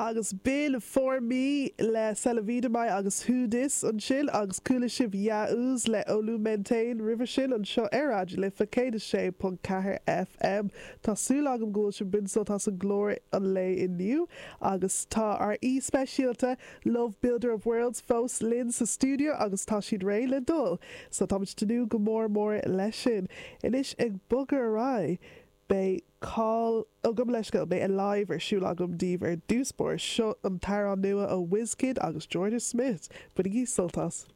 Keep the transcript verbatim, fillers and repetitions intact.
Agus b'in For Me le Celavidamai agus Who Dis ansin agus chuala sibh Yaouz le Olu Maintain roimhe sin anseo ar Raidió na Life céad a sé ponc ceathair FM. Tá súil agam go bhfuil sibh ag baint sult as an gclár an lae inniu agus tá ár aoi speisialta Love Builder of Worlds fós linn sa stiúideo agus tá siad réidh le dul. So táimid ag tnúth go mór mór leis sin. Anois ag bogadh ar aghaidh. Beidh call agam leis go beidh Alive ar siúl agam daoibh ar dtús báire seo an t-amhrán nua ó Wizkid agus Jorja Smith, Bainigí sult as.